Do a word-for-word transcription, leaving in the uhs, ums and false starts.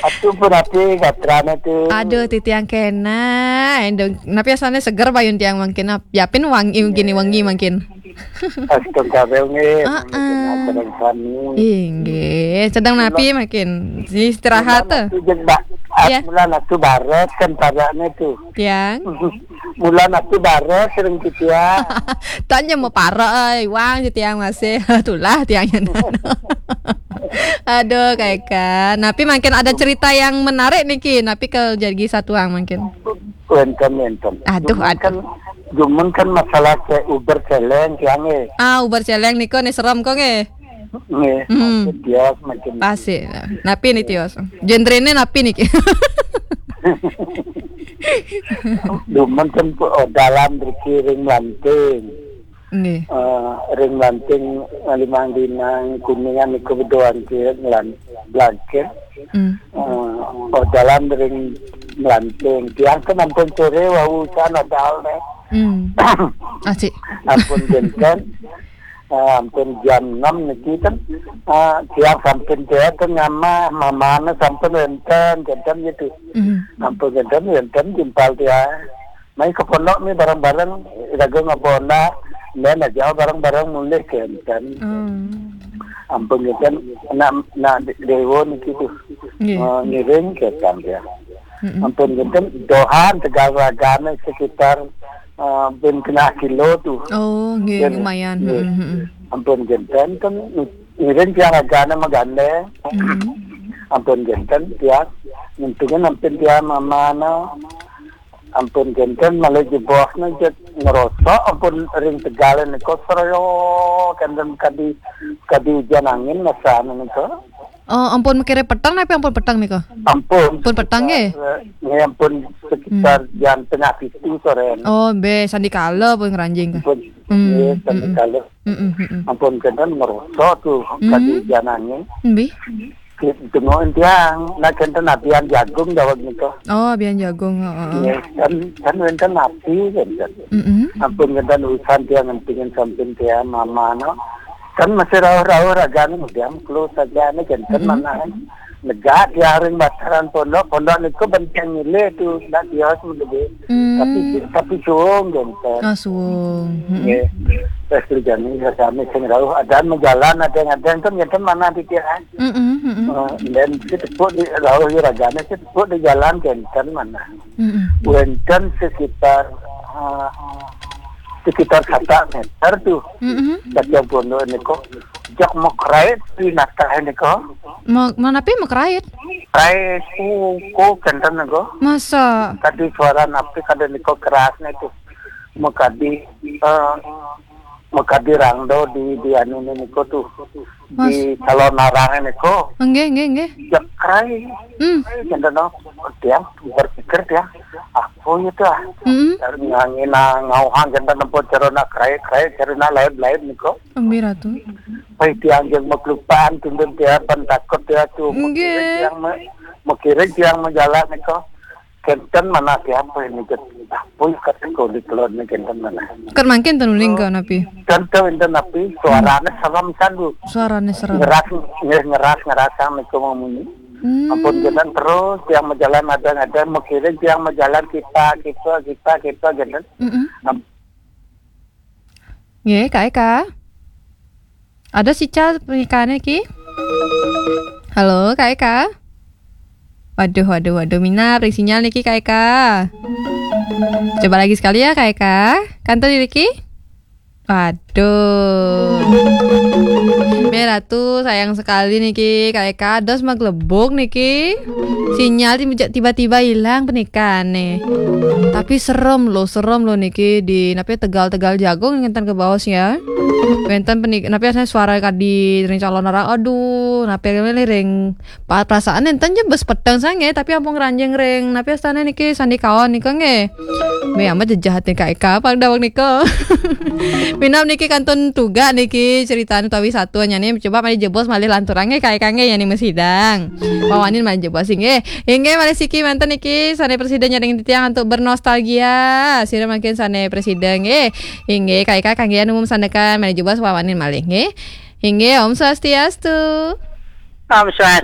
Atuh pun api gatrane tuh. Aduh, titiang kena. Endong, napi asalnya seger bayun tiang mangkin. Nap-, yapin wangi gini, wangi mangkin. Astagfirullah, nggih. Heeh. Mangkin acara sami. Inggih, sedang napi mangkin? Istirahat tuh. Mula natu jeung ba-, ah, mula natu baret kan parane tuh. Tiang. Mula natu baret sering gitu ya. Tanya mau pare, euy, wang si tiang masih. Tulah tiangnya. Aduh, Kak Eka. Napi mangkin ada cerita yang menarik niki. Napi kalau jadi satuang mangkin. Wenten, wenten. Aduh, cuman aduh. Kan, cuman kan masalah ce-, Uber celeng, tiang, eh. Ah, Uber celeng niko nih serem kok, eh. Nggih, hmm. Makin tios, makin pasti. Napi nih tios? Genrene napi nih? Dumun kan pu-, oh, dalam berkiring lanting. Nggih. Eh, ring lanting, eh, limang dinang kuningan niku bedoan ki ngelan-, blangkit. Hmm. Eh, oh, dalam ring lanting. Tiang kan ampun sore wau san ada ne. Hmm. Asik. Ampun janten. Ah, ampun jam enam niki kan, ah, tiang sampun tiang kan ngamah, mamane sampun wenten, janten gitu. Mhm. Ampun janten wenten timpal tiang. Mai ke pondok ni bareng-bareng, iraga ngabonda, dan aja bareng-bareng mulih ke enten. Hmm. Ampun janten, nak, nak de-, dewa niki tuh. Nggih. Ah, ngiring ke enten tiang. Mm-mm. Ampun janten, dohan tegal ragane sekitar, eh, ben kena kilo tuh. Oh, nggih, lumayan. Nggih. Mm-mm, mm-mm. Ampun janten kan ngiring tiang ragane magandeng. Mm-mm. Ampun janten tiang ngentungan ampun tiang mamana. Ampun janten malah jebosna jet ngerosok ampun ring tegale niko seroyo kenten kadi, kadi ujan angin masane niko. Oh, ampun makire peteng napi ampun peteng nika? Ampun. Ampun peteng, nggih? Sekitar, eh, nggih, ampun sekitar, hmm, jam tengah pitu sore. Oh, be, sandikala pun ngranjing ka? Ampun, hmm, nggih, hmm, sandikala. Hmm, hmm, hmm. Ampun kenten ngerosok tuh, hmm, kadi ujan angin. Nggih. Dengokin tiang, nak kenten abian jagung jawab nika. Oh, abian jagung, heeh. Nggih, kan, kan wenten api, kan. Hmm, hmm. Ampun kenten urusan tiang ngentingin samping tiang, mama, no. Kan masih rauh-rauh ragane, diam, close saja, ini janten, mm-mm, mana, eh. Negak tiang ring bataran pondok, pondok niku benteng nile tu, ndak tios menggede. Hmm. Tapi, tapi suwung janten. Oh, suwung. Mm-mm. Nggih. Terus kerjane ya kami sing rauh, ada majalan, ada ngadeng kan janten mana di tiang. Mm-mm, mm-mm. Eh, dan si tepuk di rauh ya ragane, si tepuk di jalan janten mana. Mm-mm. Wenten sekitar, eh, sekitar satu meter tuh. Mm-mm. Bagian pondok niku. Jak mau krait di natah niku. Mau, mau napi mau krait? Krait, uh, ku kenten niku. Masa? Kadi suara napi kadi niku keras niku. Mau kadi, eh, mau kadi rangdo di, di anu niku tuh. Mas. Di calon narang niku. Nggih, nggih, nggih. Jak krait. Hmm. Kenten no. Tiang berpikir tiang, apa ya tuh? Hmm. Dari ngangina ngauhang kenten nempo cerona krait-krait cerona lain-lain niku. Ambi Ratu. Pai tiang jeung maklupaan tundun tiang pan takut tiang tuh. Nggih. Makiring tiang me-, makiring tiang menjalan niku. Kenten mana tiang pai niku. Apa ya kata kau di telon ni kenten mana? Kan mangkin tanu ning ka napi? Kenten enten napi, suarane serem sandu. Suarane serem. Ngeras, nge-, ngeras, ngerasang niku mamunyi. Hmm. Ampun kenten terus tiang menjalan ada-ada makiring tiang menjalan kita, kita, kita, kita kenten. Mm-mm. Am- Nggih, Kak Eka. Ada sical pernikahannya, Ki? Halo, Kak Eka? Waduh, waduh, waduh, minap ring sinyal niki, Kak Eka. Coba lagi sekali ya, Kak Eka. Kantor diri, Ki? Waduh. Mira tuh sayang sekali niki, Kak Eka. Dos maglebuk niki. Sinyal tiba-, tiba-tiba hilang pernikahan nih. Tapi serem loh, serem loh niki di napi tegal-tegal jagung ngenten ke bawah ya. Wenten penik-, napi aslinya suara kadi ring calon orang. Aduh, napi ring pa-, perasaan enten je bes peteng sange, tapi ampun ranjing ring. Napi astane niki sandi kawan nika nggih. Be amat jejahat nih Kak Eka, pang daweg nika. Minab niki kantun tuga niki ceritane utawi satuannya nih. Coba malih jebos malih lanturang nggih Kak Eka nggih, yani masidang. Pawanin malih jebos nggih. Inggih malih siki manten niki sane presiden nyadeng titiang antuk bernostalgia. Sira mangkin sane presiden nggih. Inggih Kak Eka kangge anu umum sandekan malih jebos pawanin malih nggih. Inggih, Om Swastiastu. Om Swastiastu.